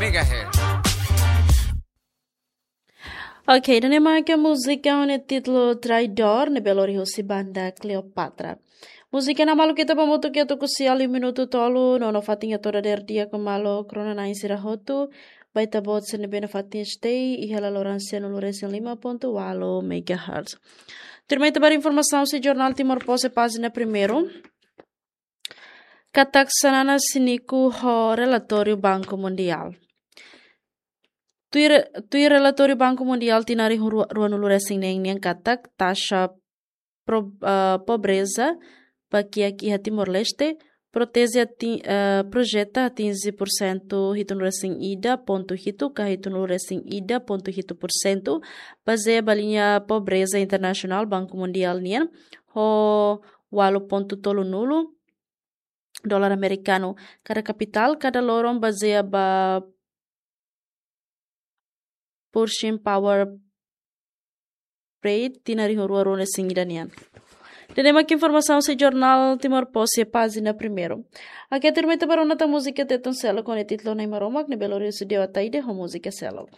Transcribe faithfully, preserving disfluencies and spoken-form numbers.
megahertz. Ok, ida-ne'e mak múzika ho títulu Traidor, ne'ebé lori husi banda Cleopatra. Múzika ne'e maluk ita ba hamutuk iha tuku sia liu minutu tolu, no nafatin ita hotu dadeer di'ak ho maluk rona-na'in sira hotu, ba ita-boot sira ne'ebé nafatin stay iha laloran sianulu-resin-lima pontu ualu megahertz. Tuirmai ita ba informasaun husi jornál Timor Post iha pájina primeiru. Katak Xanana siniku ho relatóriu Banku Mundiál. Tuir, tuir relatóriu Banku Mundiál tinan rihun rua, ruanulu-resin-neen nian katak taxa pro-, ah, pobreza ba kiak iha Timor-Leste, proteze ati-, ah, projeta atinje pursentu hitunulu-resin-ida pontu hitu ka hitunulu-resin-ida pontu hitu pursentu, bazeia ba liña pobreza internasionál Banku Mundiál nian, ho ualu pontu tolunulu dolar amerikanu kada kapitál kada loron, bazeia ba Purchasing Power Rate tinan rihun rua ruanulu-resin-ida nian. Ida-ne'e mak informasaun husi jornál Timor Post iha pájina primeiru. Oke, tuirmai ita ba rona tan múzika Tetun seluk ho títulu Na'i Maromak, ne'ebé lori husi Deo Ataide ho múzika seluk.